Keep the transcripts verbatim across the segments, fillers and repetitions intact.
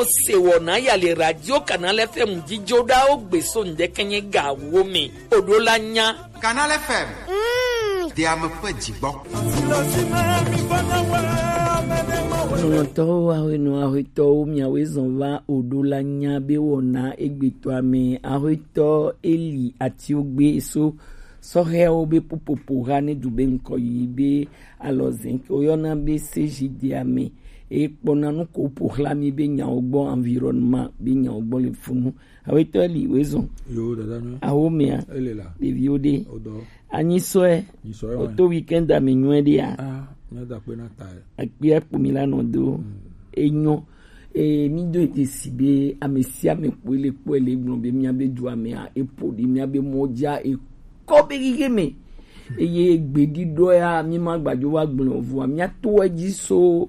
Ose wɔna ya le Radio Canal F M jijo ɖa wo gbe so ŋdɛkɛnyɛ ga wo me. Oɖo la nya. Canal F M. Mm. De ame ƒe dzigbɔ. Nɔnɔtɔwo, ahwenɔ, ahwetɔwo, miawoe zɔn va Oɖo la nya be wɔna egbetɔa me. Ahwetɔ Eli Atiogbe so sɔhɛwo be pupopo ha ne du be ŋkɔ yi be alɔ zɛn ke woyɔna be C J D ame. Ekpɔna nu ko ƒo xlã mí be nyawo gbɔ, environnement be nyawo gbɔ le funu. Awetɔ li wezɔn. Yo, dada nyɔ. Awo mea. Ele la. Ɖeviwo ɖe. Odo. Anyi sɔe. Nyi sɔe wa. Oto weekend ame nyuie ɖea. Ah, mía da kpe na ta. Akpia kpo mi la nɔ do. Mm. Enyo. E, mi do ete si be ame sia ame kpoe le kpɔe le gblɔ be mía be dua mea, epo ɖi mía be mɔ dzia, ekɔ be xixe me. Eye gbeɖiɖɔ ya, mi ma gbadzo va gblɔ o, vɔa mía to edzi so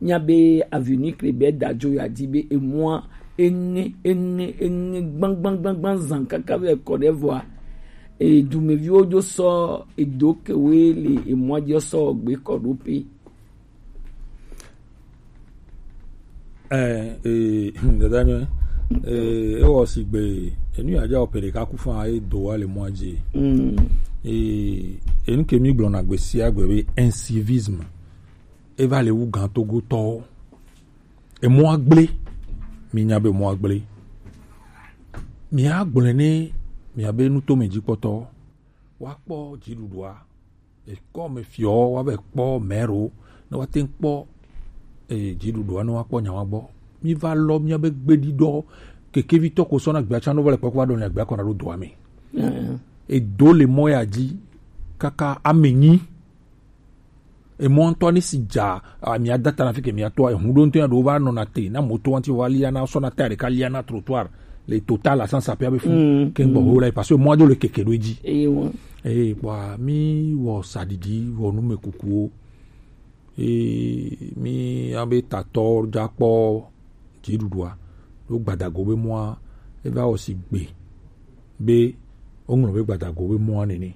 mía be avenue Krebert Dadzo ya dzi be emɔa eŋe, eŋe, eŋe gbãgbãgbãgbã zã kaka vɛ kɔ ɖe vɔa, e, dumeviwo dzo sɔ edo kewoe le emɔa dzi sɔ gbe kɔ ɖo pe. Eh, eh, dada nyɔ, eh, ewɔ sigbe, enu ya dza wɔ pe ɖeka ku fã, e do wa le mɔa dzi. Mm. Eh, enu ke mi gblɔna gbe sia gbe be incivisme, e va le wu gã Togotɔwo. Emɔa gblẽ, mi nya be emɔa gblẽ. Mi agblɔe ne mia be nutome dzikpɔtɔ, wa kpɔ dziɖuɖua. Ekɔ me fiɔ, wa be kpɔ mɛro, ne wa te kpɔ, eh, dziɖuɖua, ne wa kpɔ nya wa gbɔ. Mi va lɔ mia be gbeɖiɖɔ, kekevitɔ ko sɔ na gbea tsa no va le kpɔ ko va ɖo nya gbea kɔ na ɖo doa me. Mm. Edo le mɔ ya dzi, kaka ame nyi. Emɔ ŋutɔ ne si dza, a, mia da ta na fi ke mia tɔa, ehu ɖo ŋutɔ ya ɖo va nɔna te, na moto ŋuti va lia na sɔ na ta ɖeka lia na trottoir. Le total la sans sapia be fu. Mm, ke gbɔ mm. Ho la, parce que mɔa do le keke ɖo edzi. Eye wa. Eye kpɔa, mi wɔ saɖiɖi, wɔ nume kukuwo. Eye mi abe tatɔ dza kpɔ dziɖuɖua. Ɖo gbadago be mɔa, eva wɔ si gbe be woŋlɔ be gbadago be mɔa nene.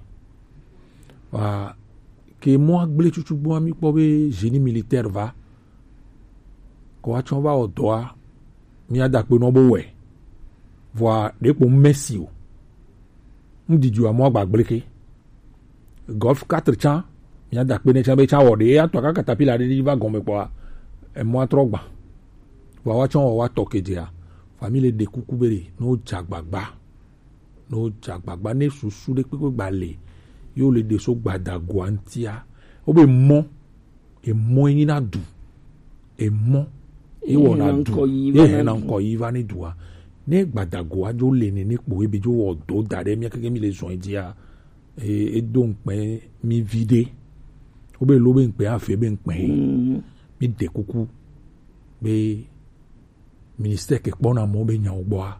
Wa ke mɔa gblẽ tutugbɔa mi kpɔ be génie militaire va. Kɔ wa tsɔ va wɔ dɔa, mia da kpe nɔ bo wɛ. Vɔa ɖe kpo mesi o. Ŋdidi wa mɔ agba gbleke. Golf quatre tsã, mia da kpe ne tsã be tsã wɔ ɖe, ya tɔ ka katapila ɖe ɖi va gɔme kpɔa, emɔa trɔ gba. Vɔa wa tsɔ wɔ wa tɔ kedzea. Famille ɖe kuku be ɖe, no dza gbagba. No dza gbagba ne susu ɖe kpekpe gba le. Yo le ɖe so gbadagoa ŋtia. Wo be mɔ, emɔ yi na du. Emɔ. Ye wɔ na du. Ye he na ŋkɔ yi va ne dua. Ne gbadagoa dzo le nene kpo ebe dzo wɔ do da ɖe mia keke mi le zɔn dzia. E, e do ŋkpɛ mi vi ɖe. Wo be lo be ŋkpɛ afe be ŋkpɛ. Mm. Mi ɖe kuku. Be ministère ke kpɔna mɔ be nyawo gbɔa.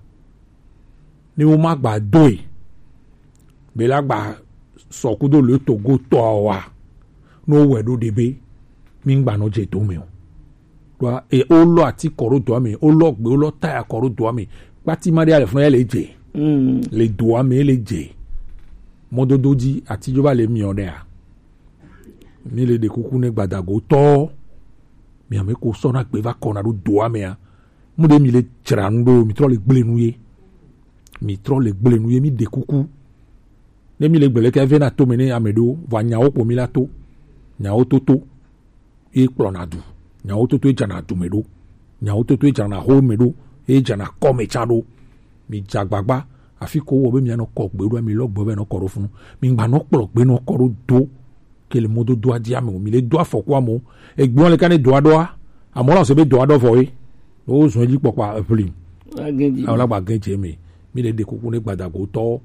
Ne wo ma gba doe, be la gba sɔ kudo le Togo tɔ wa. No wɛ ɖo ɖe be, mi ŋgba nɔ dze do me o. Ɖoa, e, wo lɔ ati kɔ ɖo doa me, wo lɔ gbe, wo lɔ taya kɔ ɖo doa me. Kpati ma ɖe ale funa ya le dze. Mm. Le doa me le dze. Mɔdodo dzi, ati dzo va le miɔ ɖea. Mi le ɖe kuku ne gbadago tɔ. Mi ame ko sɔ na gbe va kɔ na ɖo doa mea. Mu ɖe mi le dzra nu ɖo, mi trɔ le gblẽ nu ye. Mi trɔ le gblẽ nu ye, mi ɖe kuku. Ne mi le gblẽ leke ve na to me ne ame ɖo, va nyawo kpo mi la to. Nyawo toto. Ye kplɔna du. Nyawo toto ye dzana du me ɖo. Nyawo toto ye dzana ho me ɖo. Ye dzana kɔ me tsã ɖo. Mi dza gbagba. Afi ko wɔ be mi anɔ kɔ gbe ɖo, mi lɔ gbe be nɔ kɔ ɖo funu. Mi ŋgba nɔ kplɔ gbe nɔ kɔ ɖo do. Ke le mɔdodoa dzi ame o, mi le do afɔku ame o. Egblɔ le ka ne doa ɖoa, amewo la se be doa ɖɔ vɔ ye. Wo zɔn edzi kpɔkpɔ eʋli. Agɛdzi. Awo la gba gɛdzi me. Mi le ɖe kuku ne gbadago tɔ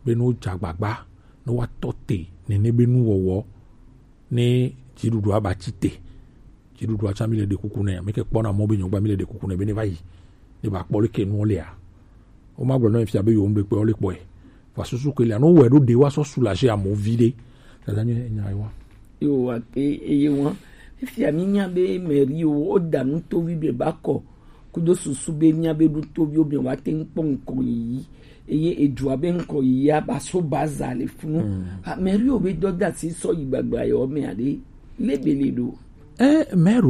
be no dza gbagba, no wa tɔ te nene be nu wɔwɔ ne dziɖuɖua ba tsi te. Dziɖuɖua tsã mi le ɖe kuku nɛ, mi ke kpɔna mɔ be nyɔgba mi le ɖe kuku nɛ be ne va yi. Ne ba kpɔ le ke nuwo lea. Wo ma gblɔ nɔ fia be yewo ŋɖe kpɔe, wo le kpɔe. Va susu ke lea, no wɛ ɖo ɖe wa sɔ soulager amewo vi ɖe. Dada nye nya yi wa. Yo, wa ke, eye wa. Fifia mi nya be mairie wo, wo da nu tovi be ba kɔ. Kudo susu be mia be ɖo toviwo be wa te ŋkpɔ ŋkɔ yiyi. Eye edua be ŋkɔ yiyi a ba so baza le funu. Mm. A, mairie wo be dɔ da si sɔ yi gbagba yɔ me aɖe. Le be le ɖo. Eh, maire